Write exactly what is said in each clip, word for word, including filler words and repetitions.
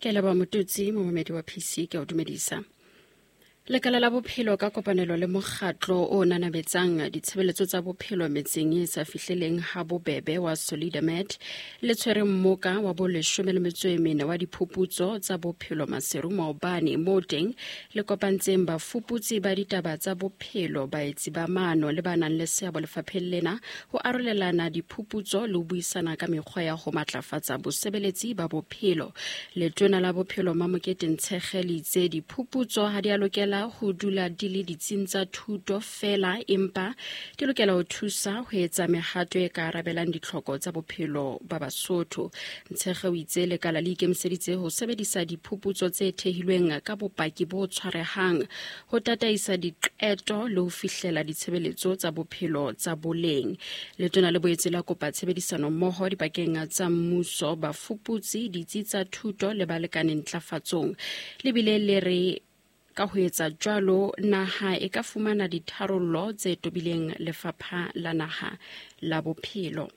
Ke leboha Motutsi, momamedi wa P C, ke o dumedisa. Lekala la bophelo ka kopanelo le mokgatlo o nanabetsang ditshebeletso tsa bophelo metseng e sa fihleleng ha bobebe wa Solidamed le tshwere mmoka wa bo leshome le metso e mene wa diphuputso tsa bophelo Maseru maobane, moo teng le kopantseng bafuputsi ba ditaba tsa bophelo, baetsi ba maano le ba nang le seabo lefapheng lena ho arolelana diphuputso le ho buisana ka mekgwa ya ho matlafatsa bosebeletsi ba bophelo. Letona la bophelo Mamokete Ntshekge le itse diphuputso ha di a lokela ho dula di le ditsing tsa thuto fela, empa di lokela ho thusa ho etsa mehato e ka arabelang ditlhoko tsa bophelo ba Basotho. Ntshekge o itse lekala le ikemiseditse ho sebedisa diphuputso tse thehilweng ka bopaki bo tshwarehang ho tataisa diqeto le ho fihlela ditshebeletso tsa bophelo tsa boleng. Letona le boetse la kopa tshebedisano mmoho dipakeng tsa mmuso, bafuputsi, ditsi tsa thuto le balekane ntlafatsong. Le bile le re ka ho etsa jwalo naha e ka fumana ditharollo tse tobileng lefapha la naha la bophelo.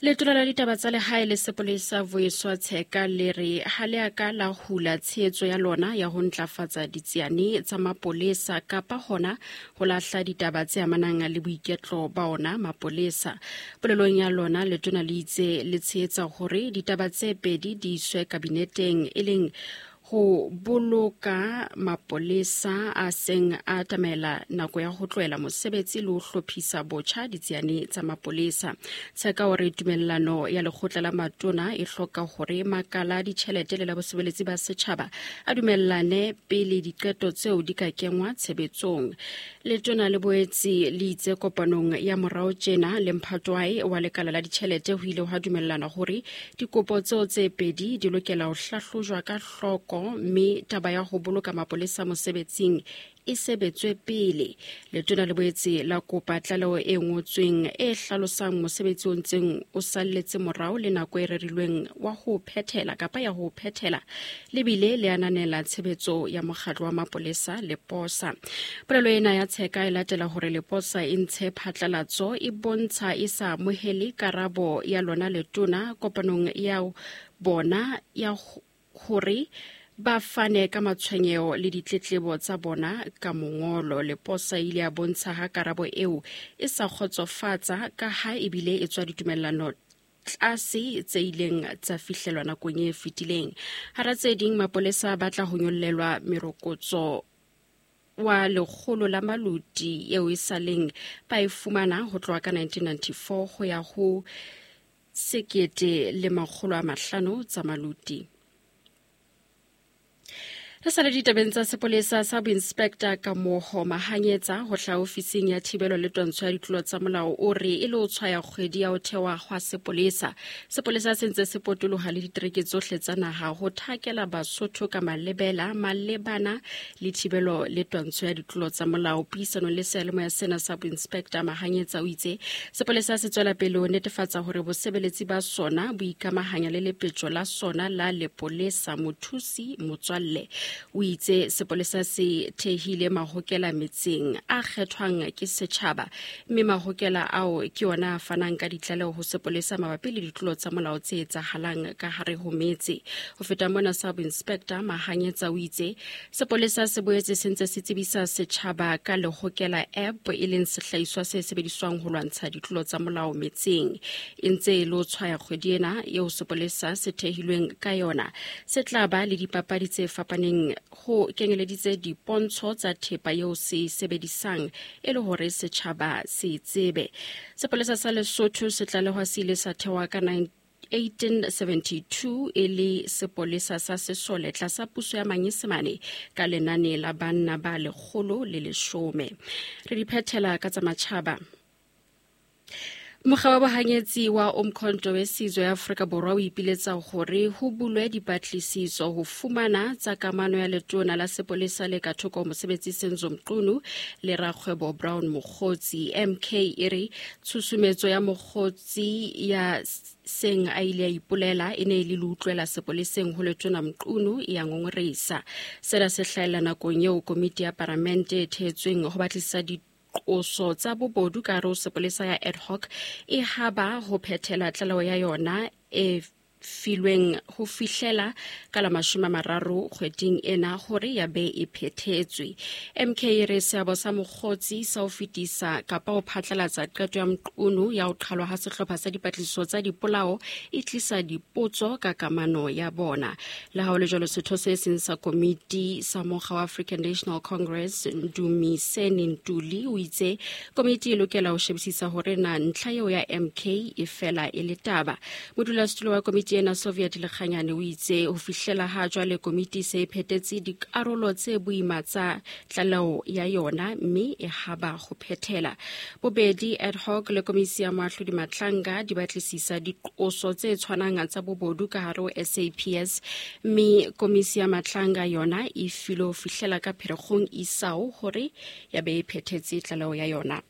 Letona la ditaba tsa lehae le sepolesa Vuyiswa Tsheka le re ha le a ka la hula tshehetso ya lona ya ho ntlafatsa ditsiane tsa mapolesa kapa hona ho lahla ditaba tse amanang le boiketlo ba ona mapolesa. Polelong ya lona letona le itse le tshehetsa hore ditaba tse pedi di iswe kabineteng, e leng ho boloka mapolesa a seng a atamela nako ya ho tlohela mosebetsi le ho hlophisa botjha ditsiane tsa mapolesa. Tsheka o re tumellano ya lekgotla la matona e hloka hore makala a ditjhelete le la bosebeletsi ba setjhaba a dumellane pele diqeto tseo di ka kengwa tshebetsong. Letona le boetse le itse kopanong ya morao tjena le mphatwae wa lekala la ditjhelete ho ile hwa dumellana hore dikopo tseo tse pedi di lokela ho hlahlojwa ka hloko, mme taba ya ho boloka mapolesa mosebetsing e sebetswe pele. Letona le boetse la kopa tlaleho e ngotsweng e hlalosang mosebetsi o ntseng o salletse morao le nako e rerilweng wa ho phethela kapa ya ho phethela, le bile le ananela tshebetso ya mokgatlo wa mapolesa Leposa. Polelo ena ya Tsheka e latela hore Leposa e ntshe phatlalatso e bontsha e sa amohele karabo ya lona letona kopanong ya bona ya hore ba fane ka matshwenyeho le ditletlebo tsa bona ka mongolo. Leposa e ile ya bontsha ha karabo eo e sa kgotsofatsa ka ha ebile e tswa ditumellano tlase tse ileng tsa fihlelwa nakong e fetileng. Hara tse ding, mapolesa ba tla ho nyollelwa merokotso wa lekgolo la maluti eo e saleng ba e fumana ho tloha ka nineteen ninety-four ho ya ho sekete le makgolo a mahlano tsa maluti. Re sa le ditabeng tsa sepolesa, sa boinspector Kamoho Mahanyetsa ho hlaha ofising ya thibelo le twantsho ya ditlolo tsa molao o re e le ho tshwaya kgwedi ya ho thewa hwa sepolesa. Sepolesa se ntse se potoloha le ditereke tsohle tsa naha ho thakela Basotho ka malebela malebana le thibelo le twantsho ya ditlolo tsa molao. Puisanong le seyalemoya sena sa boinspector Mahanyetsa o itse sepolesa se tswela pele ho netefatsa hore bosebeletsi ba sona bo ikamahanya le lepetjo la sona la lepolesa mothusi motswalle. O itse sepolesa se thehile mahokela metseng a kgethwang ke setjhaba, mme mahokela ao ke ona a fanang ka ditlaleho ho sepolesa mabapi le ditlolo tsa molao tse etsahalang ka hare ho metse. Ho feta mona, sub-inspector Mahanyetsa o itse sepolesa se boetse se ntse se tsebisa setjhaba ka lehokela app, e leng sehlahiswa se sebediswang ho lwantsha ditlolo tsa molao metseng. E ntse e lo tshwaya kgwedi ena eo sepolesa se thehilweng ka yona, se tla ba le dipapadi tse fapaneng ho kenyeleditse dipontsho tsa thepa eo se sebedisang e le hore setjhaba se tsebe. Sepolesa sa Lesotho se tlalehwa se ile sa thewa ka eighteen seventy-two e le sepolesa sa sesole tlasa puso ya Manyesemane ka lenane la banna ba lekgolo le leshome. Re di phethela ka tsa matjhaba. Mokga wa bohanyetsi wa Umkhonto we Sizwe ya Afrika Borwa o ipiletsa hore ho bulwe dipatlisiso ho fumana tsa kamano ya letona la sepolesa le ka thoko mosebetsi Senzo Mchunu le rakgwebo Brown Mogotsi. M K e re tshusumetso ya Mogotsi ya seng a ile a ipolela e ne e le le utlwela sepoleseng ho letona Mchunu ya ngongoreisa. Sena se hlahella nakong eo komiti ya paramente e thehetsweng ho batlisa di qoso tsa bobodu ka hare ho sepolesa ya ad hoc e haba ho phethela tlaleho ya yona e filweng ho fihlela ka la mashome a mararo kgweding ena hore ya be e phethetswe. M K e re seabo sa mokgotsi sa ho fetisa kapa ho phatlalatsa qeto ya Mqunu ya ho qhalwa ha sehlopha sa dipatlisiso tsa dipolao e tlisa dipotso ka kamano ya bona. Le ha ho le jwalo, setho se seng sa komiti sa mokga wa African National Congress Ndumiseni Ntuli o itse komiti e lokela ho shebisisa hore na ntlha eo ya M K e fela e le taba. Modulasetulo wa komiti ena Soviet Lekganyane o itse ho fihlela ha jwale komiti se e phethetse dikarolo tse boima tsa tlaleho ya yona mme e haba ho phethela. Bobedi ad hoc le komisi ya moahlodi Matlanga di batlisisa diqoso tse tshwanang tsa bobodu ka hare ho S A P S, mme komisi ya Matlanga yona e filwe ho fihlela ka Pherekgong isao hore ya be e phethetse tlaleho ya yona.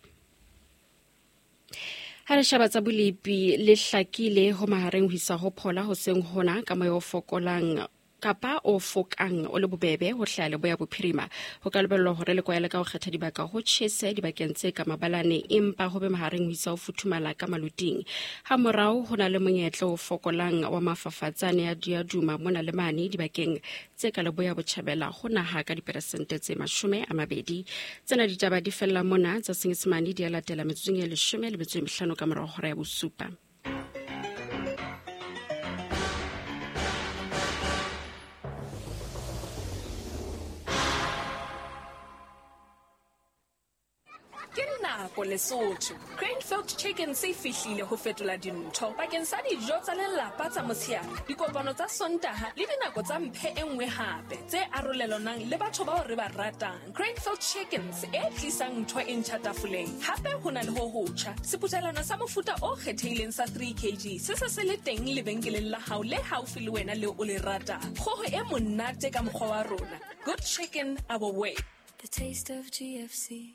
Ha re sheba tsa bolepi, le hlakile ho mahareng ho isa ho phola hoseng hona ka moya o fokolang kapa o fokang o le bobebe ho hlaha leboya bophirima. Ho ka lebellwa hore le kwaele ka ho kgetha dibaka ho tjhese dibakeng tse ka mabalane, empa ho be mahareng ho isa ho futhumala ka maluting. Ha morao ho na le monyetla o fokolang wa mafafatsane a diaduma mona le mane dibakeng tse ka leboya botjhabela ho naha ka diperesente tse mashome a mabedi. Tsena ditaba di fella mona tsa Senyesemane di a latela metsotsong e leshome le metso e mehlano ka morao hora ya bosupa. Lesotho Cranefield Chicken se fihlile ho fetola dintho bakeng sa dijo tsa lelapa tsa motshehare, dikopano tsa Sontaha le dinako tsa mphe e nngwe hape tse arolelanang le batho bao re ba ratang. Cranefield Chickens e tlisang ntho e ntjha tafoleng. Hape ho na le ho hotjha seputhelwana sa mofuta o kgethehileng sa three kilograms se se se le teng lebenkeleng la hao le haufi le wena le o le ratang. Kgoho e monate ka mokgwa wa rona. Good chicken our way. The taste of G F C.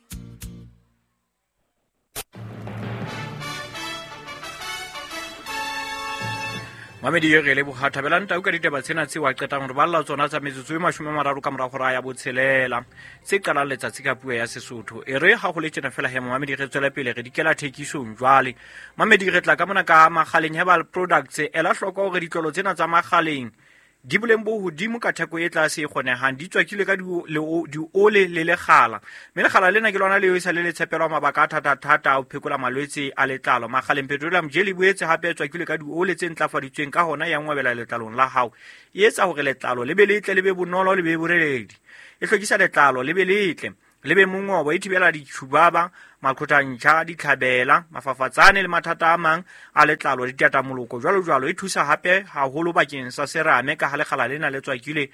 Mamedi re leboha Thabelang Tau ka ditaba tsena tse wa qetang hore balla tsona tsa metsotso e mashome a mararo ka mora hora ya botshelela tse qalang letsatsi ka puo ya Sesotho. E re ha ho le tjena fela he Mamedi re tswele pele re dikela thekisong jwale. Mamedi re tla ka mona ka Makgaleng Herbal Products. Ela hloko hore ditlolo tsena tsa Makgaleng di boleng bo hodimo ka theko e tlase e kgonehang, di tswakilwe ka diole le lekgala, mme lekgala lena ke lona leo e sa le le tshepelwa mabaka a thata-thata a ho phekola malwetse a letlalo. Makgaleng petroleum jelly boetse hape e tswakilwe ka diole tse ntlafaditsweng, ka hona ya ngwabela letlalong la hao, e etsa hore letlalo le be letle, le be bonolo, le be boreledi, e hlwekisa letlalo le be letle, le be mongobo, e thibela ditjhubaba, maqhotantjha, ditlhabela, mafafatsane le mathata a mang a letlalo, ditatamoloko jwalo jwalo. E thusa hape haholo bakeng sa serame ka ha lekgala lena le tswakile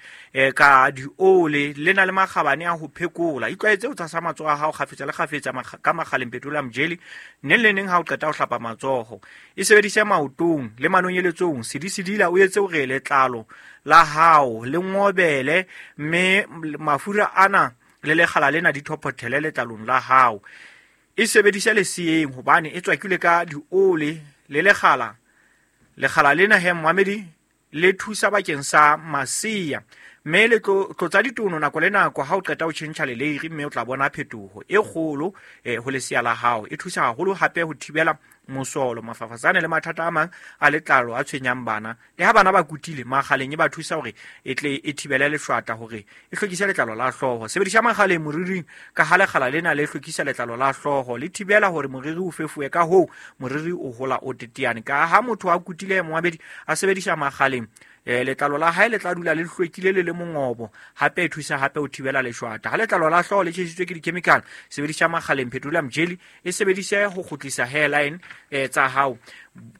ka diole, le na le makgabane a ho phekola. Itlwaetse ho tshasa matsoho a hao kgafetsa le kgafetsa ka Makgaleng petroleum jelly neng le neng ha o qeta ho hlapa matsoho. E sebedise maotong le manonyeletsong, sedisedila o etse hore letlalo la hao le ngobele, mme mafura ana le lekgala lena di thophothele letlalong la hao. E sebedise leseyeng hobane e tswakilwe ka diole le lekgala. Lekgala lena he Mamedi le thusa bakeng sa masea, mme le tlotsa ditono nako le nako ha o qeta ho tjhentjha leleiri, mme o tla bona phetoho e kgolo ho lesea la hao. E thusa haholo hape ho thibela mosolo, mafafatsane le mathata a mang a letlalo a tshwenyang bana. Le ha bana ba kutile, Makgaleng e ba thusa hore e tle e thibele leshwata hore e hlwekise letlalo la hlooho. Sebedisa Makgaleng moriring ka ha lekgala lena le hlwekisa letlalo la hlooho, le thibela hore moriri o fefowe, ka hoo moriri o hola o teteane. Ka ha motho a kutile Moabedi a sebedisa Makgaleng, eh letlalo la hae le tla dula le hlwekile le le mongobo, hape e thusa hape ho thibela leshwata. Ha letlalo la hlooho le tjhesitswe ke di-chemical, sebedisa Makgaleng petroleum jelly, e sebedise ho kgutlisa hairline eh tsa hao.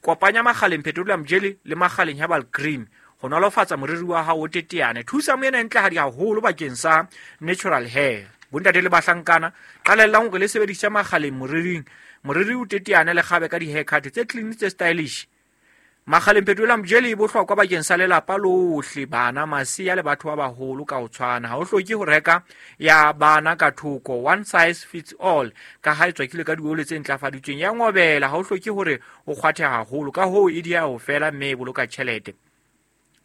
Kopanya Makgaleng petroleum jelly le Makgaleng herbal cream ho nolofatsa moriri wa hao o teteane. Thusa moena e ntlehadi haholo bakeng sa natural hair. Bontate le bahlankana, qalellang hore le sebedise Makgaleng moriring, moriri o teteane le kgabe ka di-haircut tse clean tse stylish. Makgaleng petroleum jelly e bohlokwa bakeng sa lelapa lohle, bana, masea le batho ba baholo ka ho tshwana. Ha o hloke ho reka ya bana ka thoko, one size fits all, ka ha e tswakilwe ka diole tse ntlafaditsweng, ya ngobela. Ha o hloke hore o kgwathe haholo, ka hoo e dia ho fela mme e boloka tjhelete.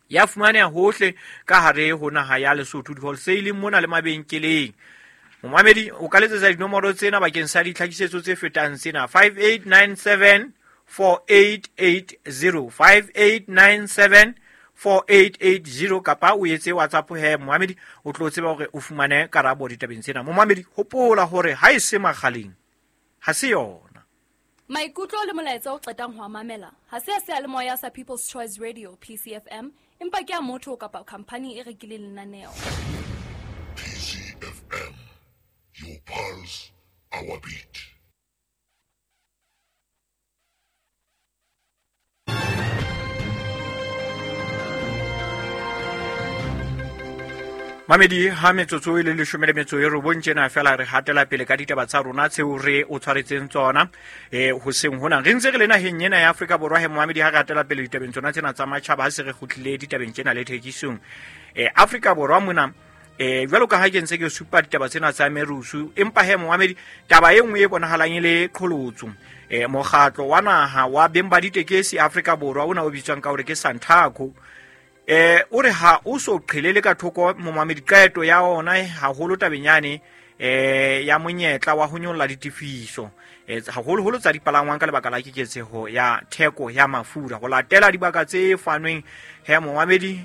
Ya fumaneha hohle ka hare ho naha ya Lesotho, di-wholesale mona le mabenkeleng. Momamedi o ka letsetsa dinomoro tsena bakeng sa ditlhakisetso tse fetang tsena: five eight nine seven four eight eight zero five eight nine seven four eight eight zero kapa o etse WhatsApp he momamedi o tlo tseba hore o fumane karabo ditabeng tsena. Momamedi hopola hore ha e se makgaleng ha se yona. Maikutlo le molaetsa o qetang ho mamela ha se a seyalemoya sa People's Choice Radio P C F M empa ke a motho kapa company e rekileng lenaneo. P C F M, your pulse, our beat. Mamedi ha metsotso e le leshome le metso e robong tjena fela re hatela pele ka ditaba tsa rona tseo re o tshwaretseng tsona eh hoseng hona re ntse re le naheng ena ya Afrika Borwa he momamedi ha re hatela pele ditabeng tsona tsena tsa matjhaba ha se re kgutlile ditabeng tsena le thekisong eh Afrika Borwa mona eh jwalo ka ha ke ntse ke supa ditaba tsena tsa merusu empa he momamedi taba e nngwe e bonahalang e le qholotso eh mokgatlo wa naha wa beng ba ditekesi Afrika Borwa ona o bitswang ka hore ke Santaco eh o re ha o so qhelele ka thoko momamedi qeto ya ona haholo tabeng yane eh ya monyetla wa ho nyolla ditefiso eh haholoholo tsa dipalangwang ka lebaka la keketseho ya theko ya mafura ho latela dibaka tse fanweng he momamedi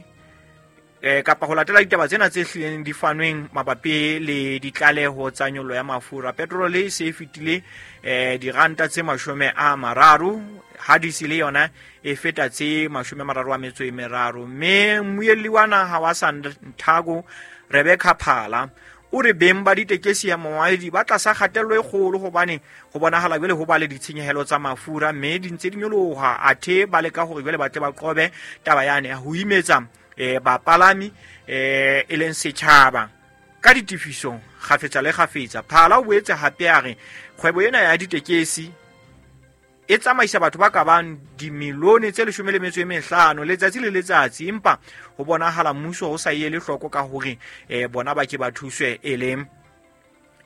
eh kapa ho latela ditaba tsena tse hlileng di fanweng mabapi le ditlaleho tsa nyollo ya mafura. Petrol e se fetile eh diranta tse mashome a mararo ha diesel yona e feta tse mashome a mararo a metso e meraro mme mmuelli wa naha wa Santaco Rebecca Phala o re beng ba ditekesi ya moaedi ba tlasa kgatello e kgolo hobane ho bonahala jwale ho ba le ditshenyehelo tsa mafura mme di ntse di nyoloha athe ba leka hore jwale ba tle ba qobe taba yane ya ho imetsa eh bapalami eh e leng setjhaba ka ditefiso kgafetsa le kgafetsa. Phala o boetse hape a re kgwebo ena ya ditekesi e tsamaisa batho ba ka bang dimilione tse leshome le metso e mehlano letsatsi le letsatsi empa ho bonahala mmuso o sa ele hloko ka hore eh bona ba ke ba thuswe e le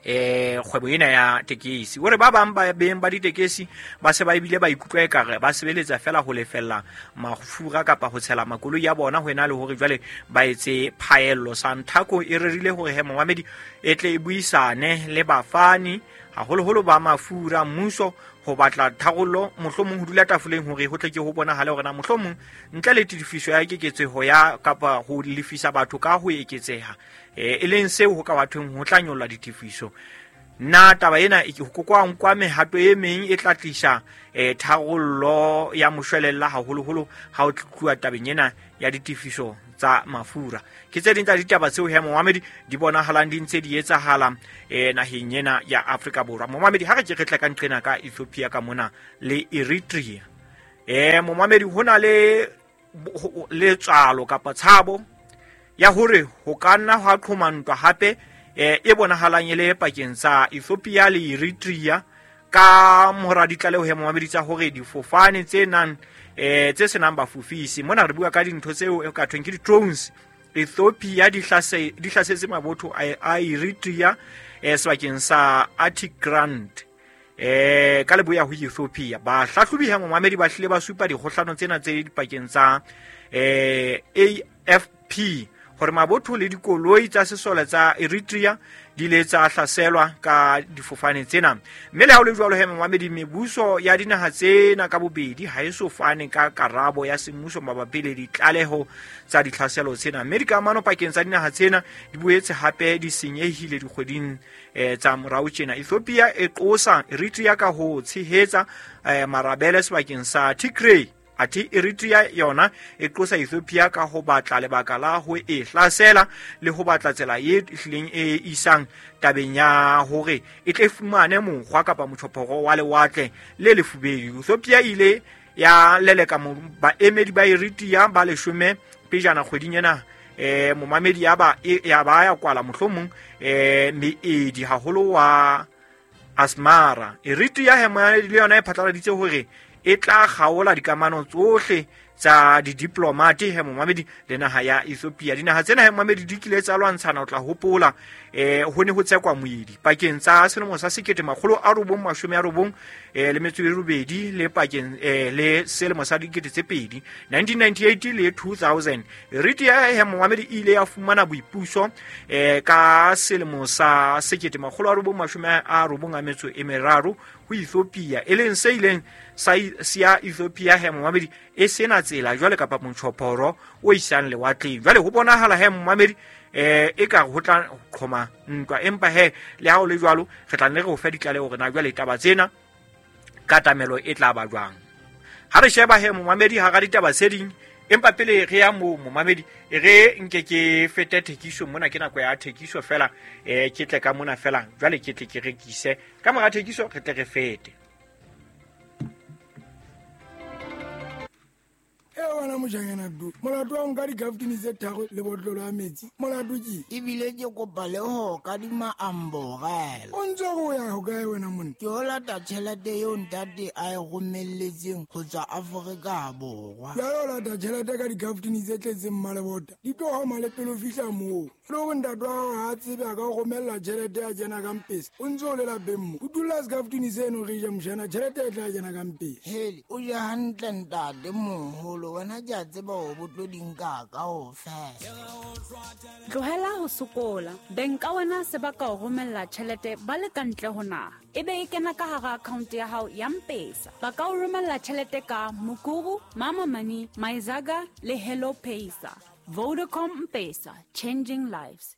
eh kgwebo ena ya tekesi. O re ba bang ba beng ba ditekesi ba se ba ebile ba ikutlwa ekare ba sebeletsa fela ho lefella mafura kapa ho tshela makoloi ya bona ho ena le hore jwale ba etse phaello. Santaco e rerile hore he momamedi e tle e buisane le bafani haholoholo ba mafura mmuso ho batla tharollo mohlomong ho dula tafoleng hore ho tle ke ho bonahale hore na mohlomong ntle le tefiso ya keketseho ya kapa ho lefisa batho ka ho eketseha e e leng seo ho ka bathong ho tla nyolla ditefiso. Na taba ena e kokwang kwa mehato e meng e tla tlisa eh tharollo ya moshwelella haholoholo ha o tluwa tabeng ena ya ditefiso tsa mafura. Ke tse ding tsa ditaba tseo he momamedi di bonahalang di ntse di etsahala eh naheng ena ya Afrika Borwa. Momamedi ha re ke re tla ka nqena ka Ethiopia ka mona le Eritrea eh momamedi hona le letswalo kapa tshabo ya hore ho ka nna hwa qhoma ntwa hape eh e bonahalang e le pakeng tsa Ethiopia le Eritrea ka mora ditlaleho he momamedi tsa hore difofane tse nang eh tse senang bafofisi mona re bua ka dintho tseo e ka thweng ke di-drones Ethiopia di hlase di hlasetse mabotho a Eritrea eh sebakeng sa Atigrand eh ka leboya ho Ethiopia. Bahlahlobi ha momamedi ba hlile ba supa dikgohlano tsena tse dipakeng tsa eh A F P hore mabotho le dikoloi tsa sesole tsa Eritrea di ile tsa hlaselwa ka difofane tsena. Mme le ha ho le jwalo he momamedi mebuso ya dinaha tsena ka bobedi ha e so fane ka karabo ya semmuso mabapi le ditlaleho tsa ditlhaselo tsena. Mme dikamano pakeng tsa dinaha tsena di boetse hape di senyehile dikgweding eh, tsa morao tjena. Ethiopia e qosa Eritrea ka ho tshehetsa eh, marabele sebakeng sa Tigray. Athe Eritrea yona e qosa Ethiopia ka ho batla lebaka la ho e hlasela le ho batla tsela e hlileng e isang tabeng ya hore e tle fumane mokgwa kapa motjhophoro wa lewatle le lefubedu. Ethiopia ile ya leleka baemedi ba Eritrea ba leshome pejana kgweding ena eh momamedi ya ba ya ba ya kwala mohlomong eh meedi haholo wa Asmara. Eritrea he le yona e phatlaladitse hore e tla kgaola dikamano tsohle tsa di-diplomate he momamedi le naha ya Ethiopia. Dinaha tsena he momamedi di kile tsa lwantshana o tla hopola eh ho ne ho tsekwa moedi pakeng tsa selemo sa sekete makgolo a robong mashome a robong eh le metso e robedi le pakeng eh le selemo sa dikete tse pedi nineteen ninety-eight le two thousand. Eritrea he momamedi e ile ya fumana boipuso eh ka selemo sa sekete makgolo a robong mashome a robong a metso e meraro ho Ethiopia, e leng se ileng sa siya Ethiopia he momamedi e sena tsela jwale kapa motjhophoro o isang lewatleng. Jwale ho bonahala he momamedi eh e ka ho tla qhoma ntwa, empa he le ha o le jwalo re tla nne re o fe ditlaleho hore na jwale taba tsena katamelo e tla ba jwang. Ha re sheba he momamedi hara ditaba tse ding, empa pele re ya mo momamedi e re nke ke fete thekiso mona, ke nako ya thekiso fela, eh ke tle ka mona fela jwale ke tle ke rekise ka mora thekiso re tle re fete. E wena mojanyana du molato wa nka dikaftini tse tharo le botlolo ya metsi molato ke ebile ke kopa le ho kadima amborela. O ntse o ya ho kae wena monna? Ke o lata tjhelete eo ntate a e romelletseng ho tswa Afrika Borwa. Jwale o lata tjhelete ka dikaftini tse tletseng mmalebota di tlo homa le pele o fihla moo. Le hore ntate wa hao ha a tsebe a ka o romella tjhelete ya kena ka mpesa, o ntse o le lapeng mo. O dula sekaftini seno re ja mojana, tjhelete e tla kena ka mpesa. Hele, o ja hantle ntate moholo, wena ke a tseba hore bo tlo di nka kaofela. Tlohela ho sokola. Beng ka wena se ba ka o romella tjhelete ba le ka ntle ho naha, ebe e kena ka hara account ya hao ya M-Pesa. Ba ka o romella tjhelete ka Mukuru, Mama Money, Maizaga le Hello Pesa. Vodacom M-Pesa, changing lives.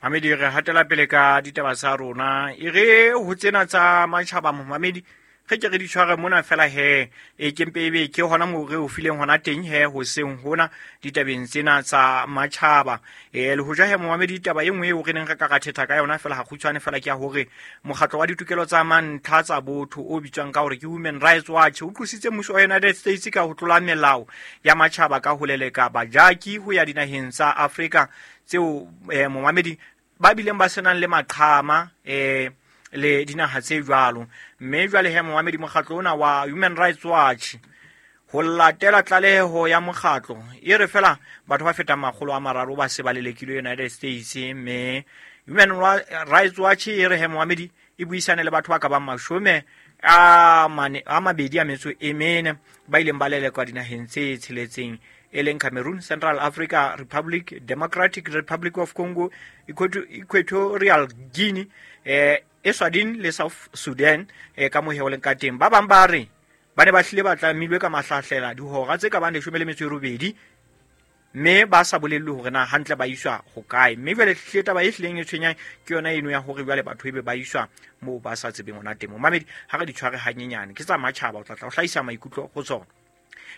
Mamedi, re hatela pele ka ditaba tsa rona. E re ho tsena tsa matjhaba momamedi re ke re di tshware mona fela he e ke mpe ebe ke hona moo re o fileng hona teng he hoseng hona ditabeng tsena tsa matjhaba. E le hoja he momamedi taba e nngwe eo re neng re ka ra thetha ka yona fela ha kgutshwane fela ke ya hore mokgatlo wa ditokelo tsa mantlha tsa botho o bitswang ka hore ke Human Rights Watch o qositse mmuso wa United States ka ho tlola melao ya matjhaba ka ho leleka bajaki ho ya dinaheng tsa Afrika tseo eh, momamedi ba bileng ba senang le maqhama eh le dinaha tse jwalo. Mme jwale he momamedi mokgatlo ona wa Human Rights Watch ho latela tlaleho ya mokgatlo e re fela batho ba fetang makgolo a mararo ba se ba lelekilwe United States. Mme Human Rights Watch e re he momamedi e buisane le batho ba ka bang mashome a mane a mabedi a metso e mene ba ileng ba lelekwa dinaheng tse tsheletseng e leng Cameroon, Central Africa Republic, Democratic Republic of Congo, Equatorial Guinea, eh Eswatini le South Sudan eh ka mohe o leng ka teng. Ba bang ba re ba ne ba hlile ba tlamilwe ka mahlahlela dihora tse ka bang leshome le metso e robedi mme ba sa bolellwe hore na hantle ba iswa ho kae. Mme jwale hlile taba e hlileng e tshwenyang ke yona eno ya hore jwale batho ebe ba iswa moo ba sa tsebeng hona teng. Momamedi ha re di tshware hanyenyane ke tsa matjhaba, o tla tla o hlahisa maikutlo ho tsona.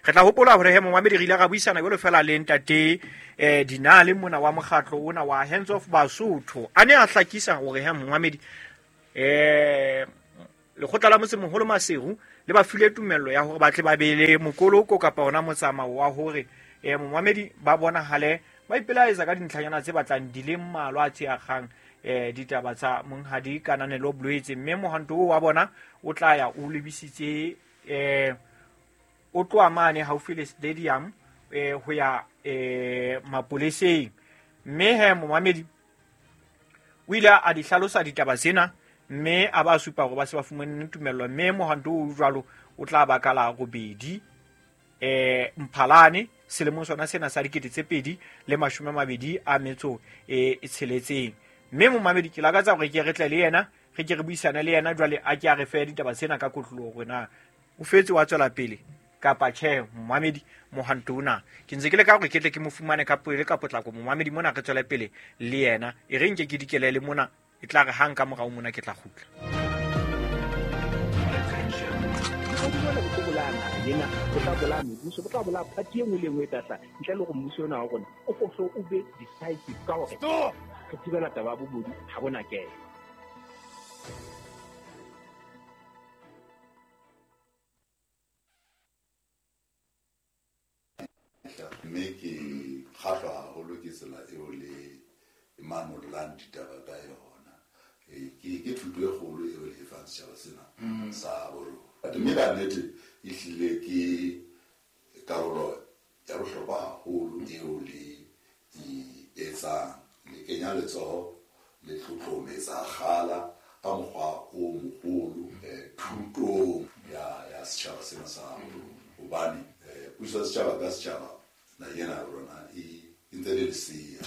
Re tla hopola hore he momamedi re ile ra buisana jwalo fela le ntate eh Dinale mona wa mokgatlo ona wa Hands Off Basotho a ne a hlakisa hore he momamedi eh lekgotla la motsemoholo Maseru le ba file tumello ya hore ba tle ba bele mokoloko kapa hona motsamao wa hore eh momamedi ba bonahale ba ipelaetsa ka dintlhanyana tse batlang di le mmalwa tse akgang eh ditaba tsa monghadi Kananelo Bloetse. Mme mohanto wa bona o tla ya o lebisitse eh o tloha mane haufi le stadium eh ho ya eh mapoleseng. Mme he momamedi o ile a di hlalosa ditaba tsena mme a ba supa hore ba se ba fumane tumello. Mme mohanto o jwalo o tla ba ka la robedi eh Mphalane selemong sona sena sa dikete tse pedi le mashome a mabedi a metso e tsheletseng. Mme momamedi ke lakatsa hore ke re tle le yena re ke re buisane le yena jwale a ke a re fe ditaba tsena ka kotloloho hore na o fetse wa tswela pele kapa tjhe. Momamedi mohanto ona ke ntse ke le ka hore ke tle ke mo fumane ka pele ka potlako. Momamedi mona re tswele pele le yena e re nke ke dikelele mona e tla re hang ka morao mona ke tla kgutla. Yena o tla bolaya mebuso, o tla bolaya party e nngwe le nngwe e tla ntle le gore mmuso ona wa rona o foso o be decisive ka hore re thibela taba ya bobodu ha bona kelo. Mme ke kgahlwa haholo ke tsela eo le manollang ditaba ka yona. Ke ke thuto e kgolo eo le e fang setjhaba sena sa borona. Mme ka nnete ehlile ke karolo ya bohlokwa haholo eo le e etsang. Le kenya letsoho le tlotlometsa kgala ka mokgwa o moholo thutong ya ya setjhaba sena sa borona. Hobane puso ya setjhaba ka setjhaba naheng ena ya rona e ntse le lesea.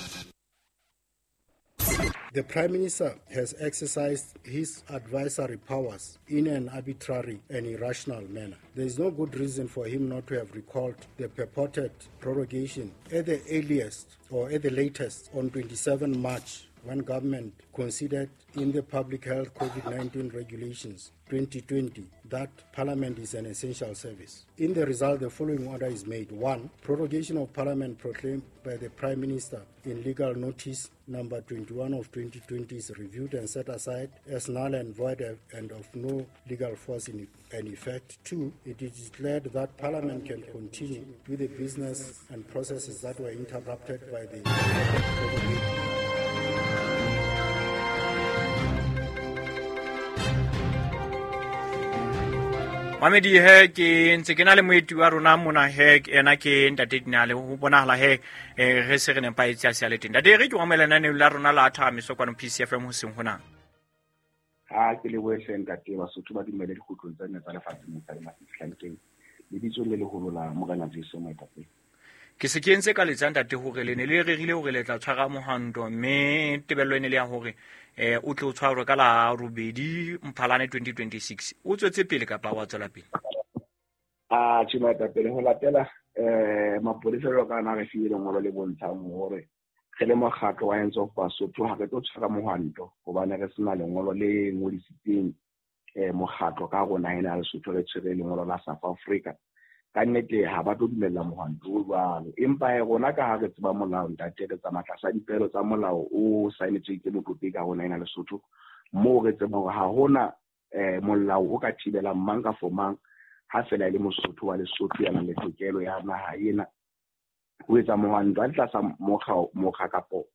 The Prime Minister has exercised his advisory powers in an arbitrary and irrational manner. There is no good reason for him not to have recalled the purported prorogation at the earliest or at the latest on twenty-seventh March, when government considered in the Public Health COVID nineteen Regulations twenty twenty that Parliament is an essential service. In the result, the following order is made. One, prorogation of Parliament proclaimed by the Prime Minister in legal notice number twenty-one of twenty twenty is reviewed and set aside as null and void and of no legal force in and effect. Two, it is declared that Parliament can continue with the business and processes that were interrupted by the prorogation. Mamedi he ke ntse ke na le moeti wa rona mona he ena ke ntate Dinale ho bonahala he re se re nepaetse a se le teng. Ntate re ke omela nane la rona la thamiso kwano P C F M ho seng hona. Ha ke le bohle ntate Basotho ba dumele dikgutlong tsa nna tsa lefatshe mo tsa mafitlhang lebitso le leholo la Morena Jesu Moetapele. Ke se ke ntse ka letsa ntate hore le ne le rerile hore le tla tshwara mohwanto mme tebello ene le ya hore eh o tle o tshwarwe ka la robedi Mphalane twenty twenty-six. O tswetse pele kapa wa tswela pele? Ah tjhe moetapele ho latela eh mapolesa jwalo ka na re file lengolo le bontshang hore re le mokgatlo wa Hands Off Basotho ha re tlo tshwara mohwanto hobane re sena lengolo le ngodisitseng eh mokgatlo ka rona ena Lesotho re tshwere lengolo la South Africa. Ka nnete ha ba tlo dumella mohwanto o jwalo, empa rona ka ha re tseba molao ntate re tsamaya tlasa dipelo tsa molao o saenetsweng ke motlopi ka rona ena Lesotho moo re tseba hore ha hona eh molao o ka thibelang mang ka for mang ha fela e le Mosotho wa Lesotho ya nang le tokelo ya naha ena ho etsa mohwanto a tlasa mokga mokga kapo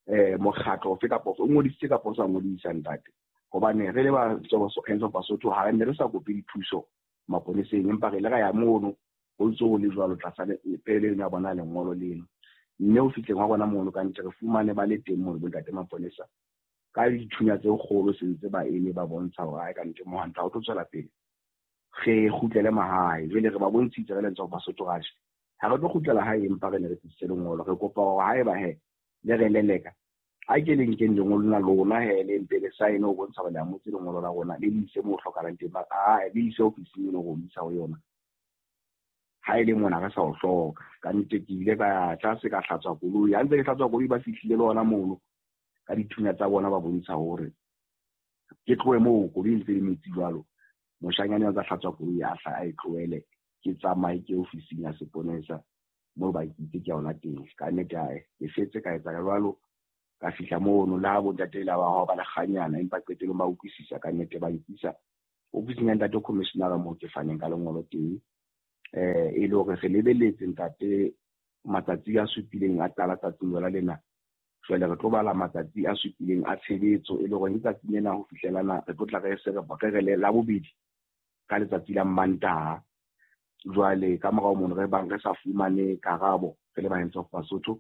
eh mokgatlo ofe kapo o ngodisitse kapo o sa ngodisa ntate, hobane re le ba Hands Off Basotho ha re ne re sa kope dithuso maponeseng empa re le ra ya mono ho ntse ho le jwalo tlasa pele ya bona lengolo leno mme o fihleng wa bona mono ka ntle re fumane ba le teng mono bontate maponesa ka dithunya tse kgolo sentse ba eme ba bontsha hore ha ka ntle mohwanto ha o tlo tswela pele re kgutlele mahae. Jwale re ba bontshitse re le Hands Off Basotho raj ha re tlo kgutlela hae empa re ne re tlisitse lengolo re kopa hore haeba he le re leleka a ke le nkeng lengolo la lona he le mpe le sign ho bontsha hore le amotse lengolo la rona le le ise moo hlokahalang teng, a le ise ofising eno ho isa ho yona ha e le mona re sa o hloka. Ka nnete ke ile ka tlase ka hlatswa koloi, ha ntse ke hlatswa koloi ba fihlile le ona mono ka dithunya tsa bona ba bontsha hore ke tlohe moo koloi ntse le metsi jwalo. Moshanyane a tsa hlatswa koloi a hla a e tlohele ke tsamaye ke ofising ya seponesa moo ba itse ke yona teng. Ka nnete ae ke fetse ka etsa jwalo ka fihla mono le ha bontate la ba hao ba le kganyana empa qetellong ba utlwisisa ka nnete ba nkisa ofising ya ntate commissioner moo ke faneng ka lengolo teng eh e le hore re lebeletse ntate matsatsi a supileng a qala tsatsing lona lena. Jwale re tlo bala matsatsi a supileng a tshebetso e le hore letsatsi lena ho fihlelana re tlo tla re se re re le la bobedi ka letsatsi la Mantaha. Jwale ka morao mono re bang re sa fumane karabo re le ba Hands Off Basotho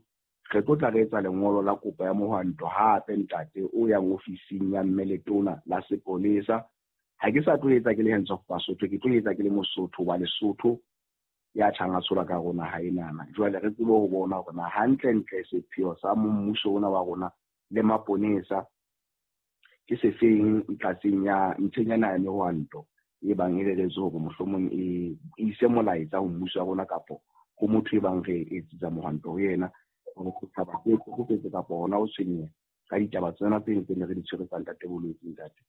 re tlo tla re etsa lengolo la kopo ya mohwanto hape ntate o yang ofising ya mme letona la sepolesa. Ha ke sa tlo etsa ke le Hands Off Basotho, ke tlo etsa ke le Mosotho wa Lesotho ya tjhang a tshola ka rona ha enana. Jwale re tsebe ho bona hore na hantlentle sepheo sa mmuso ona wa rona le maponesa ke sefeng tlatseng ya ntheng ya mehwanto e bang e reretswe hore mohlomong e ise molaetsa ho mmuso wa rona kapo ho motho e bang re etsetsa mohwanto ho yena hore setjhaba se tlhokofetse kapo hona ho tshwenyeha ka ditaba tsena tse ntseng re di tshwere tsa ntate bolwetse ntate.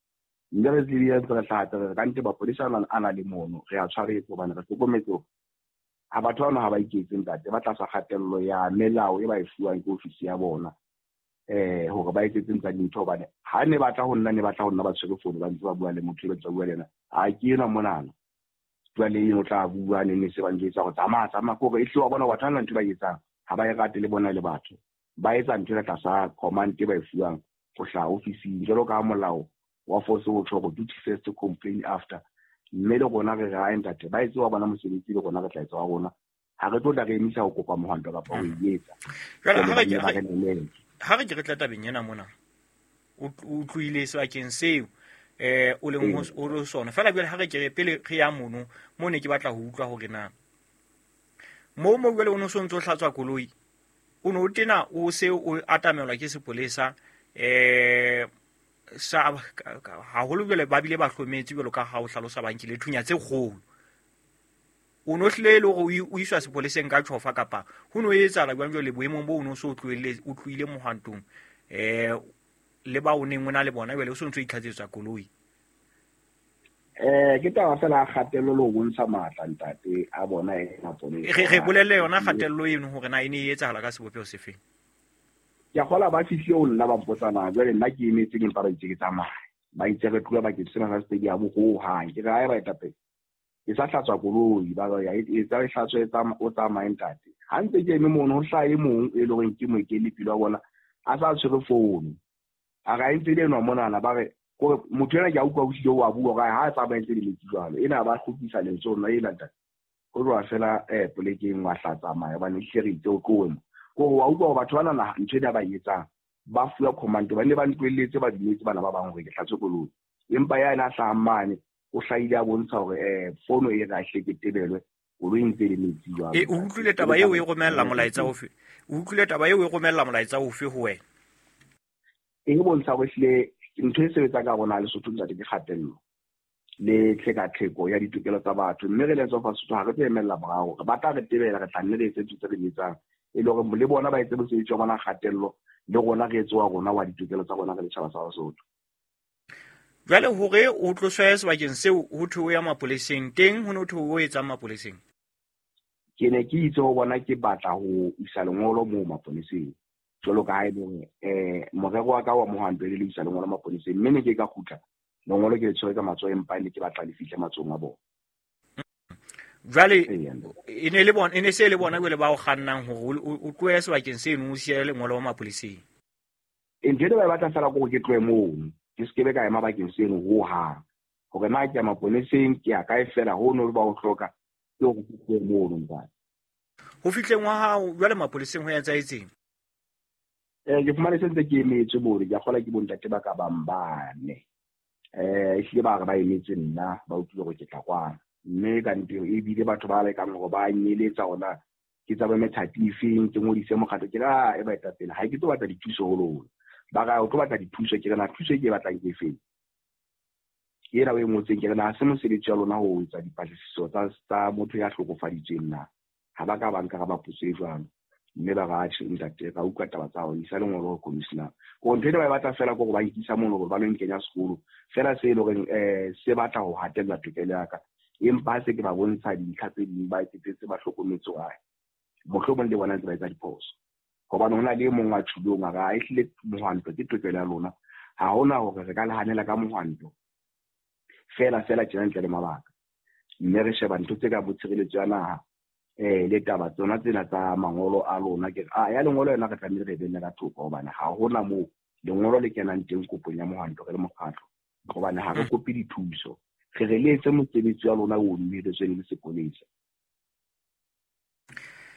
Mme re tsebile ntse re hlaha re ka nte mapolesa a na le mono re a tshwaretse hobane re hlokometse ha batho bana ha ba iketse ntate ba tlasa kgatello ya melao e ba e fuwang ke ofisi ya bona eh hore ba etsetse ntsa dintho hobane ha ne batla ho nna ne batla ho nna ba tshwere fono ba ntse ba bua le motho e ba ntse ba bua le yena ha ke ena monana jwale eno o tla bua ne ne se ba njwetsa hore tsamaya tsamaya ke hore e hle wa bona batho ba ntho ba etsang ha ba e rate le bona le batho ba etsa ntho e tlasa command e ba e fuwang ho hlaha ofising jwalo ka molao wa force o tjho hore duty first complain after. Mme le rona re re ntate ba etse wa bona mosebetsi le rona re tla etsa wa rona ha re tlo tla re emisa ho kopa mohwanto kapa ho e etsa. Jwale ha re ke re tla tabeng ena mona o tlohile sebakeng seo eh o leng ho o sona fela jwale ha re ke re pele re ya mono mo ne ke batla ho utlwa hore na mo mo jwale o no so ntso hlatswa koloi o no tena o se o atamelwa ke sepolesa um sa haholo jwale ba bile ba hlometse jwalo ka ha o hlalosa ba nkile thunya tse kgolo. O no hlile le hore o iswa sepoleseng ka tjhofa kapa ho no etsahala jwang jwale boemong bo o no so tlohelle o tlohile mohwantong eh le ba o neng o na le bona jwale o so ntso itlhatsetswa koloi? Eh ke taba fela kgatello le ho bontsha matla ntate a bona e maponesa. Re re bolelle yona kgatello eno hore na e ne e etsahala ka sebopeho sefeng. Ke a kgola ba fihlile ho nna ba mpotsa na jwale nna ke emetseng empa ba itse ke tsamaya. Ba itse re tloha bakeng sena sa stadium ho hang. Ke re ha e baetapele ke sa hlatswa koloi ba ya etsa e hlatswe o tsamaye ntate. Ha ntse ke eme mono ho hlaha e mong e leng hore ke moeteledipele wa bona a sa tshwere founu. A re a ntse le enwa monana ba re kore motho ena ke a utlwa o hlile o a bua hore ha a tsamaye ntse le metsi jwalo. Ena ba kgutlisa lentswe ho nna ena ntate. Ho tloha fela eh polekeng wa hla tsamaya hobane ehlile re itse o tlohe mo. Kore wa utlwa hore batho bana na ntho ena ba e etsang ba fuwa command ba ne ba ntlohelletse ba dumetse bana ba bang hore ke hlatswe koloi. Empa ya ena a hlahang mane o hlahile a bontsha hore eh fono e re a hle ke tebelwe koloi ntse le metsi jwalo. E o utlwile taba eo e romella molaetsa ofe? O utlwile taba eo e romella molaetsa ofe ho wena? E bontsha hore hlile ntho e sebetsang ka rona Lesotho ntate ke kgatello le tlhekatlheko ya ditokelo tsa batho, mme re le tswa Sesotho ha re tlo emella morao re batla re tebela re tla nne re etse ntho tse re di etsang e le hore le bona ba etse mosebetsi wa bona kgatello le rona re etse wa rona wa ditokelo tsa rona re le setjhaba sa Basotho. Jwale hore o tloswe sebakeng seo ho thwe o ya mapoleseng teng, ho no thwe o etsang mapoleseng? Ke ne ke itse ho bona ke batla ho isa lengolo moo mapoleseng jwalo ka ha e le hore eh morero wa ka wa mohwanto e le isa lengolo mapoleseng, mme ne ke ka kgutla lengolo ke le tshwere ka matsoho empa ne ke batla le fihle matsohong a bona. Jwale e ne le bona e ne se le bona jwale ba o kgannang hore o tlohe sebakeng seno o siye lengolo mapoleseng? Ntho eno ba e batla fela ke hore ke tlohe mono, ke se kebe ka ema bakeng seno hohang. Hore na ke ya maponeseng ke ya kae fela hono ba o hloka ke hore ke tlohe mono ntate. Ho fihleng wa hao jwale mapoleseng ho etsahetseng? Eh ke fumane se ntse ke emetse mono, ke a kgola ke bontate ba ka bang bane. Eh ehlile ba re ba emetse nna ba utlwile hore ke tla kwana. Mme ka nnete ebile batho ba lekang hore ba nyeletsa hona ke tsa methati efeng ke ngodise mokgatlo ke ra e baetapele ha ke tlo batla dithuso ho lona. Ba ra o tlo batla dithuso ke re na thuso e ke e batlang ke efeng? Ke ena o e ngotseng ke re na ha se mosebetsi wa lona ho etsa dipatlisiso tsa tsa motho ya hlokofaditsweng na. Ha ba ka ba nka ba potso e jwalo. Mme ba ra tjhe ntate ra utlwa taba tsa hao isa lengolo ho commissioner. Ko ntho ena ba e batla fela ke hore ba nkisa mono hore ba lo nkenya sekolo fela se e leng hore eh se batla ho hatella tokelo ya ka. Empa ha se ke ba bontsha dintlha tse ding ba etsetse ba hlokometse hore mohlomong le bona ntse ba etsa diphoso. Hobane hona le e mong a tjhulong a re a ehlile mohwanto ke tokelo ya lona. Ha hona hore re ka le hanela ka mohwanto fela fela tjena ntle le mabaka. Mme re sheba ntho tse ka bo tshireletso ya naha eh le taba tsona tsena tsa mangolo a lona ke a ya lengolo yona re tlamehile re benne ka thoko hobane ha hona moo lengolo le kenang teng kopong ya mohwanto re le mokgatlo hobane ha re kope dithuso. Re re le etse mosebetsi wa lona o dumelletsweng le sepolesa.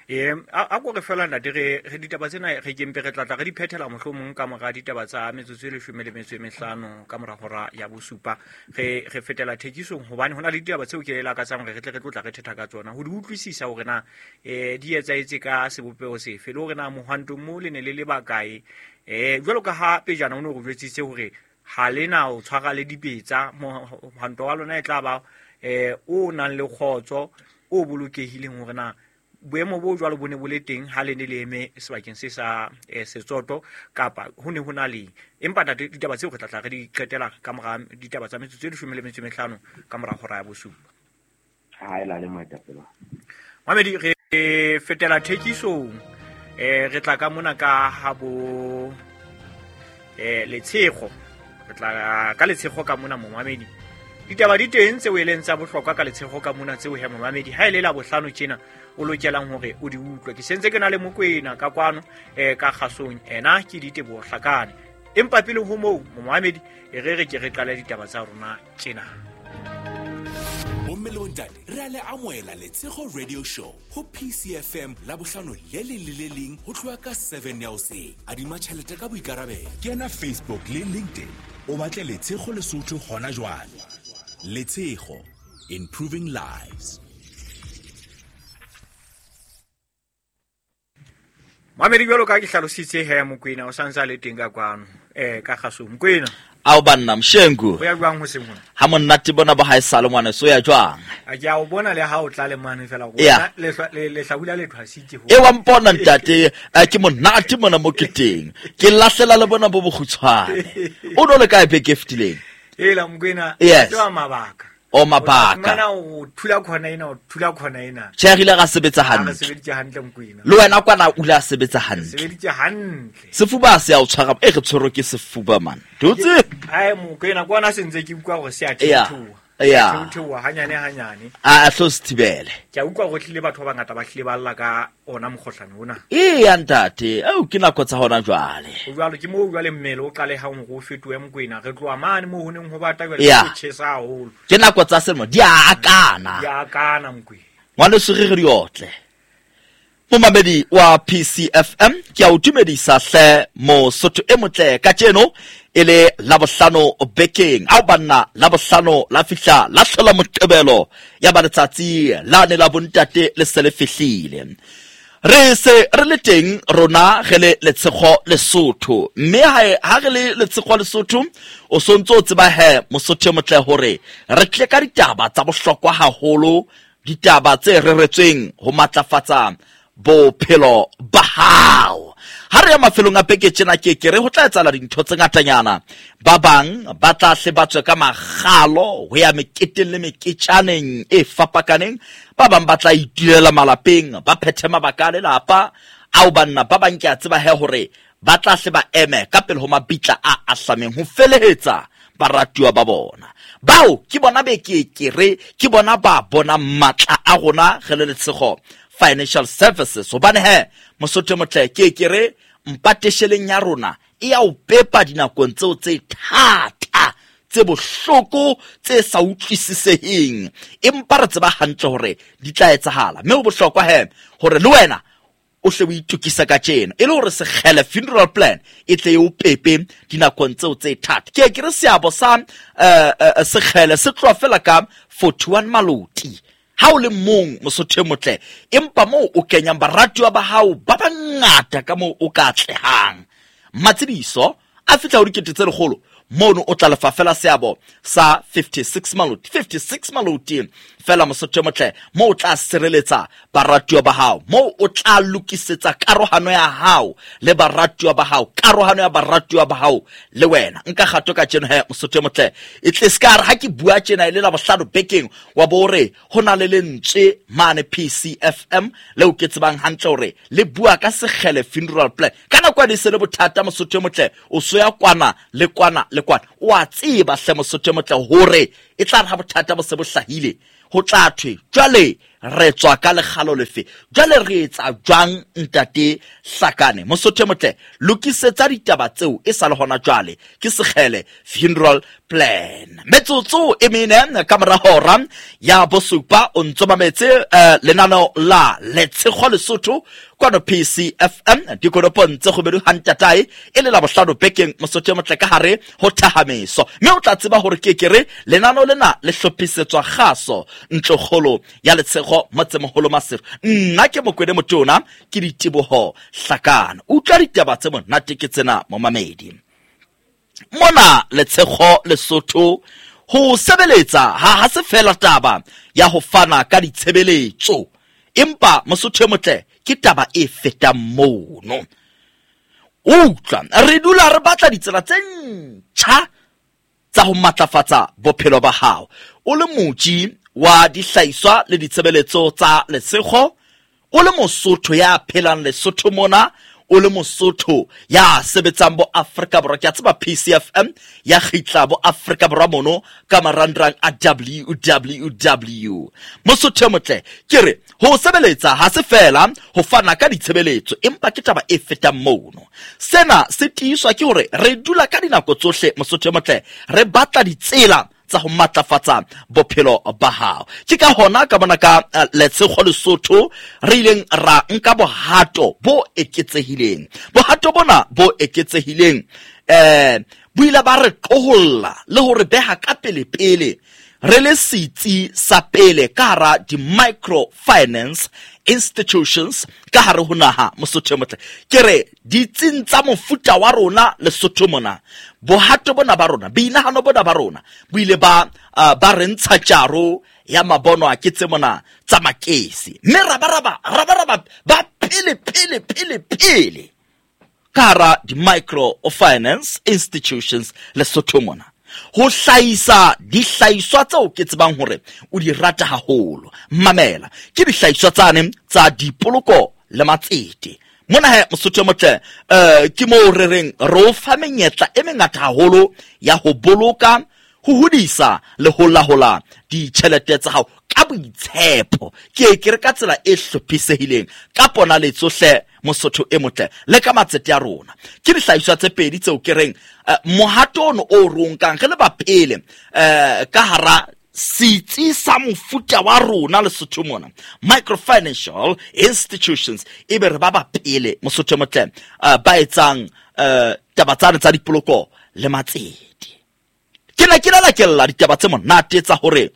Eh a ko re fela ntate re re ditaba tsena re kempe re tlatla re di phethela mohlomong ka mora ditaba tsa metsotso e leshome le metso e mehlano ka mora hora ya bosupa re re fetela thekisong hobane hona le ditaba tseo ke lakatsang hore re tle re tlotla re thetha ka tsona ho di utlwisisa hore na eh di etsahetse ka sebopeho sefe le hore na mohwantong mo le ne le le bakae. Eh jwalo ka ha pejana o ne o re jwetsitse hore ha lena o tshwara le dipetsa mohwanto wa lona e tla ba eh o nang le kgotso o bolokehileng hore na boemo bo jwalo bo ne bo le teng ha le ne le eme sebakeng se sa Setsoto kapa ho ne ho na le. Empa ntate ditaba tseo re tla tla re di qetela ka mora ditaba tsa metsotso e leshome le metso e mehlano ka mora hora ya bosupa. Ha e la le moetapele. Mamedi re fetela thekisong eh re tla ka mona ka ha bo eh Letshego re tla ka Letshego ka mona momamedi. Ditaba di teng tseo e leng tsa bohlokwa ka Letshego ka mona tseo he momamedi ha e le la bohlano tjena o lokelang hore o di utlwe. Ke sentse ke na le Mokwena ka kwano eh ka kgasong ena ke Diteboho Hlakane. Empa pele ho moo momamedi e re re ke re qale ditaba tsa rona tjena. Bomme le bontate re a le amohela Letshego Radio Show ho P C F M la bohlano le leng le le leng ho tloha ka seven ya hoseng. Adima tjhelete ka boikarabelo. Kena Facebook le LinkedIn o batle Letshego Lesotho hona jwale. Letshego, improving lives. Mamedi jwalo ka ke hlalositse he Mokwena o santse a le teng ka kwano eh ka kgasong Mokwena. Ao banna Mshengu. O ya jwang ho seng hona? Ha monate bona ba ha e sale ngwana so ya jwang? A ke a o bona le ha o tla le mane fela go le le hlabula le thwasitse ho. E wa mpona ntate ke monate mona mo ke teng. Ke lahlela le bona bo bokgutshwane. O no le kae beke e fetileng? Ela Mokwena ke wa mabaka. O mabaka. Mana o thula khona ena o thula khona ena. Tjhe re ile ra sebetsa hantle. Re sebeditse hantle Mokwena. Le wena kwana o ile a sebetsa hantle. Sebeditse hantle. Sefuba se a o tshwara e re tshwere ke sefuba man. Dutse. Ai Mokwena kwana se ntse ke utlwa hore se a theoha. Ya. Theoha hanyane hanyane. A a tlo se thibele. Ke a utlwa hore tlile batho ba bangata ba hlile ba lla ka ona mokgohlane ona. Ee ntate, au ke nako tsa hona jwale. O jwalo ke mo jwale mmele o qale ha o fetohe Mokwena re tloha mane mo ho neng ho bata jwale ho tjhesa haholo. Ke nako tsa selemo di a akana. Di a akana Mokwena. Ngwaneso re re diotle. Momamedi wa P C F M ke a o dumedisa hle Mosotho e motle kajeno e le Labohlano bekeng. Ao banna Labohlano la fihla la hlola Moqebelo ya ba letsatsi la ne la bontate le se le fihlile. Re se re le teng rona re le Letshego Lesotho mme ha re le Letshego Lesotho o sontso o tseba he Mosotho e motle hore re tle ka ditaba tsa bohlokwa haholo, ditaba tse reretsweng ho matlafatsa bophelo ba hao. Ha re ya mafelong a beke tjena ke ke re ho tla etsahala dintho tse ngatanyana. Ba bang ba tla hle ba tswe ka makgalo ho ya meketeng le meketjaneng e fapakaneng. Ba bang ba tla itulela malapeng ba phethe mabaka a lelapa. Ao banna ba bang ke a tseba he hore ba tla hle ba eme ka pele ho mabitla a ahlameng ho felehetsa baratuwa ba bona. Bao ke bona be ke ke re ke bona ba bona matla a rona re le Letshego Financial Services. Hobane he Mosotho motle ke ke re mpatesheleng ya rona e ya o pepa dinakong tseo tse thata tse bohloko tse sa utlwisiseheng, empa re tseba hantle hore di tla etsahala. Mme ho bohlokwa he hore le wena o hle o itokisa ka tjena e le hore Sekgele funeral plan e tle e o pepe dinakong tseo tse thata. Ke ke re seabo sa uh, Sekgele se tloha fela ka forty-one maloti ha o le mong Mosotho e motle, empa moo o kenyang baratuwa ba hao ba bangata ka moo o ka atlehang. Matsediso a fihla ho dikete tse lekgolo mono o tla lefa fela seabo sa fifty-six maloti, fifty-six maloti fela Mosotho e motle, moo o tla sireletsa baratuwa ba hao, moo o tla lokisetsa karohano ya hao le baratuwa ba hao, karohano ya baratuwa ba hao le wena. Nka kgato ka tjeno he Mosotho e motle, e tle ska re ha ke bua tjena e le Labohlano bekeng wa bo re ho na le lentswe mane P C F M leo ke tsebang hantle hore le bua ka Sekgele funeral plan. Ka nako ya se le bothata Mosotho e motle, o so ya kwana le kwana le kwana, o a tseba hle Mosotho e motle hore e tla re ha bothata bo se bo hlahile ho tla thwe jwale re tswa ka lekgalo lefe, jwale re etsa jwang ntate Hlakane. Mosotho e motle lokisetsa ditaba tseo e sa le hona jwale ke Sekgele funeral plan. Metsotso e mene ka mora hora ya bosupa o ntso mametse uh, lenaneo la Letshego Lesotho kwano P C F M dikonopong tse kgobedu hantatae e le Labohlano bekeng Mosotho e motle ka hare ho thahameso. Mme o tla tseba hore ke ke re lenaneo lena le hlophisetswa kgaso ntlokgolo ya Letshego motsemoholo Maseru. Nna ke Mokwene Motona ke Diteboho Hlakane. Utlwa ditaba tse monate ke tsena momamedi. Mona Letshego Lesotho ho sebeletsa ha ha se fela taba ya ho fana ka ditshebeletso, empa Mosotho e motle ke taba e fetang mono. Utlwa re dula re batla ditsela tse ntjha tsa ho matlafatsa bophelo ba hao. O le motji wa dihlahiswa le ditshebeletso tsa Letshego, o le Mosotho ya phelang Lesotho mona, o le Mosotho ya sebetsang bo Afrika Borwa. Ke a tseba P C F M ya kgitla bo Afrika Borwa mono ka marangrang a W W W. Mosotho e motle ke re ho sebeletsa ha se fela ho fana ka ditshebeletso, empa ke taba e fetang mono. Sena se tiiswa ke hore re dula ka dinako tsohle Mosotho e motle re batla ditsela tsa ho matlafatsa bophelo ba hao. Ke ka hona ka bona ka uh, Letshego Lesotho re ileng ra nka bohato bo eketsehileng. Bohato bona bo eketsehileng eh bo ile ba re qoholla le hore beha ka pele pele re le setsi sa pele ka hara di-microfinance institutions ka hare ho naha Mosotho e motle. Ke re ditsing tsa mofuta wa rona Lesotho mona, bohato bona ba rona, boinahano bona ba rona bo ile ba uh, ba re ntsha tjaro ya mabono a ke tse mona tsa makesi, mme rabaraba rabaraba ba pele pele pele pele ka hara di-microfinance institutions Lesotho mona ho hlahisa dihlahiswa tseo ke tsebang hore o di rata haholo. Mamela, ke dihlahiswa tsane tsa dipoloko le matsete. Mona he Mosotho e motle, eh ke moo re reng re o fa menyetla e mengata haholo ya ho boloka, ho hodisa le ho lahola ditjhelete tsa hao ka boitshepo. Ke ke re ka tsela e hlophisehileng ka ponaletso hle Mosotho e motle le ka matsete a rona. Ke dihlahiswa tse pedi tseo ke reng uh, mohato ono o re o nkang re le ba pele uh, ka hara setsi sa mofuta wa rona Lesotho mona, microfinancial institutions, e be re ba ba pele Mosotho e motle uh, ba etsang uh, taba tsane tsa dipoloko le matsete. Ke ne ke la lakella ditaba tse monate tsa hore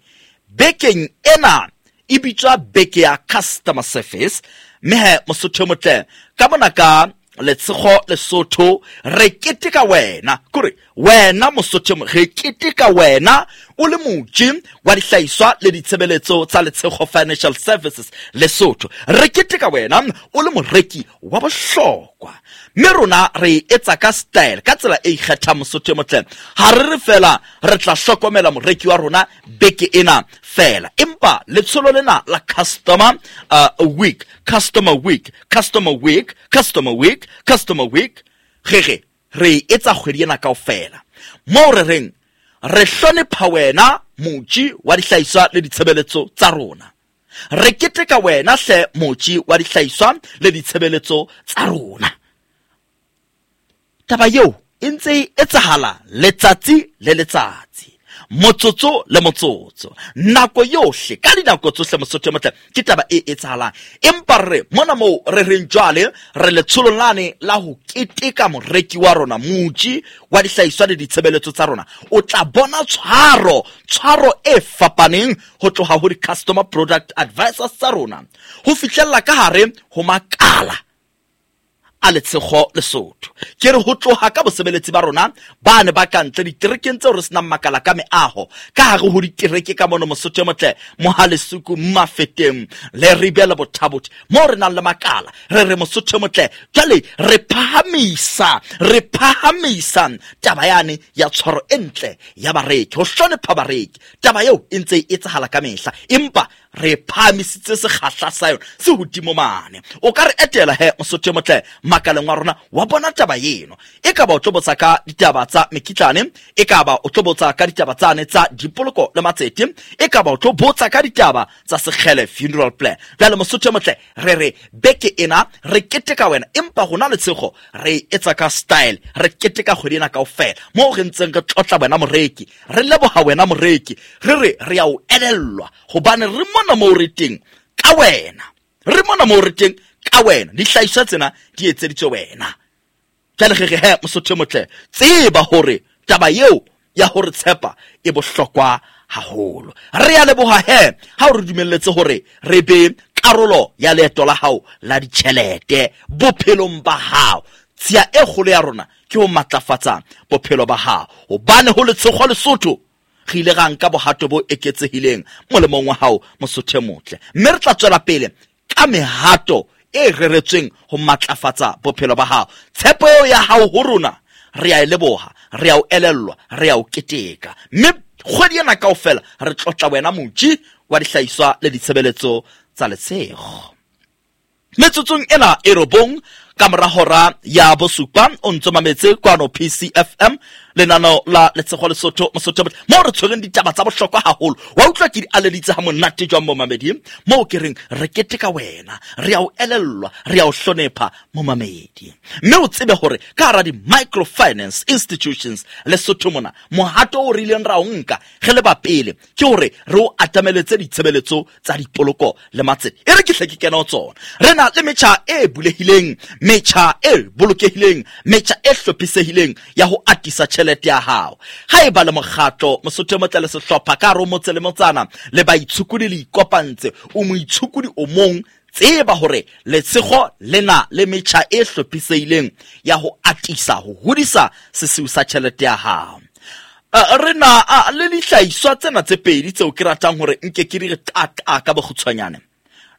bekeng ena e bitswa beke ya customer service, mme he Mosotho e motle ka mona ka Letshego Lesotho re keteka wena, kore wena Mosotho re keteka wena o le moji wa dihlahiswa le ditshebeletso tsa Letshego Financial Services Lesotho. Re keteka wena o le moreki wa bohlokwa, mme rona re etsa ka style, ka tsela e ikgethang Mosotho e motle. Ha re re fela re tla hlokomela moreki wa rona beke ena fela, empa letsholo lena la customer uh, week, customer week, customer week, customer week, customer week, re re re etsa kgwedi ena kaofela. Moo re reng re hlonepha wena moji wa dihlahiswa le ditshebeletso tsa rona, re keteka wena hle moji wa dihlahiswa le ditshebeletso tsa rona. Taba eo e ntse e etsahala letsatsi le letsatsi, motsotso le motsotso, nako yohle, ka dinako tsohle Mosotho e motle, ke taba e etsahalang. Empa re mona moo re reng jwale re letsholong lane la ho keteka moreki wa rona, moji wa dihlahiswa le ditshebeletso tsa rona. O tla bona tshwaro, tshwaro e fapaneng ho tloha ho di-customer product advisors tsa rona ho fihlella ka hare ho makala a Letshego Lesotho. Ke re ho tloha ka bosebeletsi ba rona ba ne ba ka ntle diterekeng tseo re senang makala ka meaho, ka hare ho ditereke ka mono Mosotho e motle, Mohalesuku, Mafeteng le Ribela Bothabothi, moo re nang le makala. Re re Mosotho e motle, jwale re phahamisa, re phahamisa taba yane ya tshwaro e ntle ya bareki, ho hlonepha bareki. Taba eo e ntse e etsahala ka mehla, empa re phahamisitse sekgahla sa yona se hodimo mane. O ka re etela he Mosotho e motle makaleng wa rona wa bona taba eno. E ka ba o tlo botsa ka ditaba tsa mekitlane, e ka ba o tlo botsa ka ditaba tsane tsa dipoloko le matsete, e ka ba o tlo botsa ka ditaba tsa Sekgele funeral plan. Jwale Mosotho e motle re re beke ena re keteka wena, empa rona Letshego re etsa ka style, re keteka kgwedi ena kaofela moo re ntseng re tlotla wena moreki, re leboha wena moreki, re re re ya o elellwa hobane re mona moo re teng ka wena, re mona moo re teng ka wena, dihlahiswa tsena di etseditswe wena. Jwale re re he Mosotho e motle, tseba hore taba eo ya hore tshepa e bohlokwa haholo. Re ya leboha he ha o re dumelletse hore re be karolo ya leeto la hao la ditjhelete bophelong ba hao. Tshiya e kgolo ya rona ke ho matlafatsa bophelo ba hao, hobane ho Letshego Lesotho re ile ra nka bohato bo eketsehileng molemong wa hao Mosotho e motle, mme re tla tswela pele ka mehato e reretsweng ho matlafatsa bophelo ba hao. Tshepo eo ya hao ho rona re a e leboha, re a o elellwa, re a o keteka, mme kgwedi ena kaofela re tlotla wena moji wa dihlahiswa le ditshebeletso tsa Letshego. Metsotsong ena e robong ka mora hora ya bosupa o ntso mametse kwano P C F M lenano la Letshego Lesotho Mosotho mo re tshwereng ditaba tsa bohlokwa haholo. Wa utlwa ke di aleditse ha monate jwang mo mamedi mo ke reng re keteka wena, re a o elellwa, re a o hlonepha mo mamedi. Mme o tsebe hore ka hara di-microfinance institutions Lesotho mona mohato o re ileng ra o nka re le ba pele ke hore re o atameletse ditshebeletso tsa dipoloko le matsete. E re ke hle ke kena ho tsona. Re na le metjha e bulehileng Metjha e bolokehileng, metjha e hlophisehileng ya ho atisa tjhelete ya hao. Ha eba le mokgatlo, Mosotho e motle le sehlopha ka hare ho motse le motsana, le baitshokodi le ikopantse, o moitshokodi o mong, tseba hore Letshego le na le metjha e hlophisehileng ya ho atisa, ho hodisa sesiu sa tjhelete ya hao. Uh, re na uh, le dihlahiswa tsena tse pedi tseo ke ratang hore nke ke di re qaqa ka bokgutshwanyane.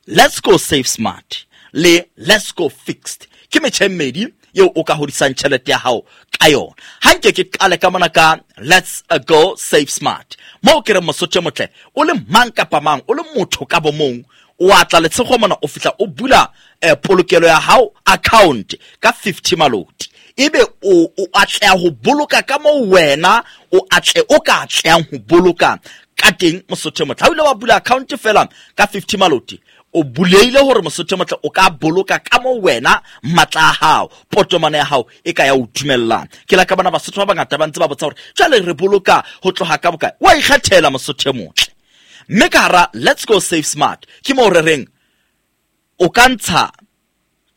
Let's go save smart le let's go fixed ke metjha e mmedi eo o ka hodisang tjhelete ya hao ka yona. Ha nke ke qale ka mona ka let's go save smart, moo ke re Mosotho e motle, o le mang kapa mang, o le motho ka bo mong, o atla Letshego mona, o fihla o bula eh, polokelo ya hao account ka fifty maloti, ebe o o atleha ho boloka ka moo wena o atle o ka atlehang ho boloka ka teng. Mosotho e motle, ha o ile wa bula account fela ka fifty maloti, o buleile hore Mosotho e motle o ka boloka ka moo wena matla a hao, potomane ya hao e ka ya o dumellang. Ke la ka bona Basotho ba bangata ba ntse ba botsa hore jwale re boloka ho tloha ka bokae. Wa ikgethela Mosotho e motle. Mme ka hara let's go save smart ke moo re reng o ka ntsha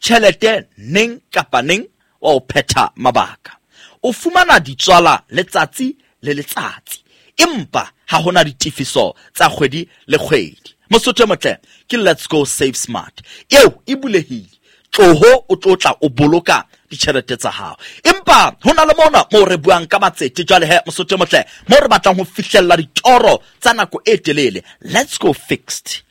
tjhelete neng kapa neng wa o phetha mabaka. O fumana ditswala letsatsi le letsatsi, empa ha hona ditefiso tsa kgwedi le kgwedi. Mosotho e motle, ke let's go save smart eo e bulehile, tloho o tlo tla o boloka ditjhelete tsa hao. Empa ho na le mona moo re buang ka matsete jwale he Mosotho e motle, moo re batlang ho fihlella ditoro tsa nako e telele. Let's go fixed,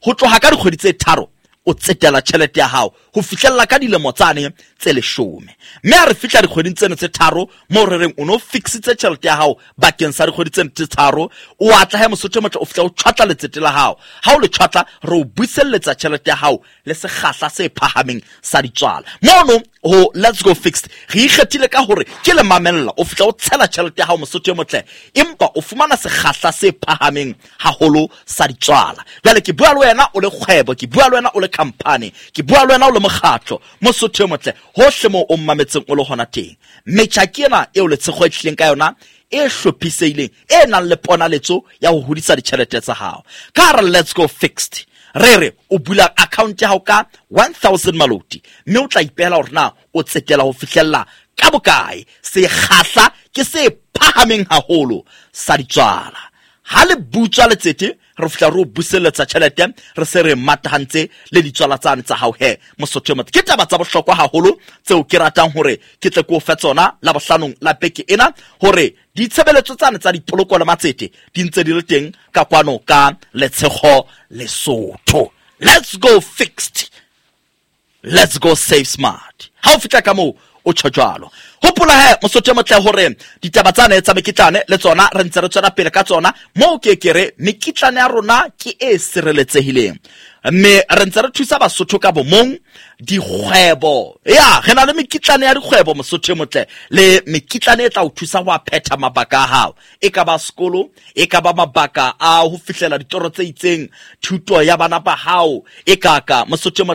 ho tloha ka dikgwedi tse tharo o tsetela tjhelete ya hao ho fihlella ka dilemo tsane tse leshome. Mme ha re fihla dikgweding tseno tse tharo moo re reng o no fixitse tjhelete ya hao bakeng sa dikgwedi tseno tse tharo, o atla he Mosotho e motle, o fihla o tjhwatla letsete la hao. Ha o le tjhwatla, re o buselletsa tjhelete ya hao le sekgahla se phahameng sa ditswala. Mono ho let's go fixed re ikgethile ka hore ke le mamella, o fihla o tshela tjhelete ya hao Mosotho e motle, empa o fumana sekgahla se phahameng haholo sa ditswala. Jwale ke bua le wena o le kgwebo, ke bua le wena o le company, ke bua le wena o le mokgatlo, Mosotho e motle, hohle moo o mmametseng o le hona teng. Metjha ke ena eo Letshego e tlileng ka yona, e hlophisehileng, e nang le ponaletso ya ho hodisa ditjhelete tsa hao. Ka hara let's go fixed re re o bula account ya hao ka one thousand maloti, mme o tla ipehela hore na o tsetela ho fihlella ka bokae. Sekgahla ke se phahameng haholo sa ditswala. Ha le butswa letsete, re fihla re o buselletsa tjhelete, re se re matahantse le ditswala tsane tsa hao he Mosotho e motle. Ke taba tsa bohlokwa haholo tseo ke ratang hore ke tle ke o fe tsona la bohlanong la beke ena, hore ditshebeletso tsane tsa dipoloko le matsete di ntse di le teng ka kwano ka Letshego Lesotho. Let's go fixed, let's go save smart. Ha o fihla ka moo o tjho jwalo. Hopola he Mosotho e motle hore ditaba tsane tsa mekitlane le tsona re ntse re tswela pele ka tsona, moo ke ke re mekitlane ya rona ke e sireletsehileng, mme re ntse re thusa Basotho ka bomong dikgwebo. Ya re na le mekitlane ya dikgwebo Mosotho e motle, le mekitlane e tla o thusa ho phetha mabaka a hao, e ka ba sekolo, e ka ba mabaka a ho fihlela ditoro tse itseng, thuto ya bana ba hao, e ka ka Mosotho e motle.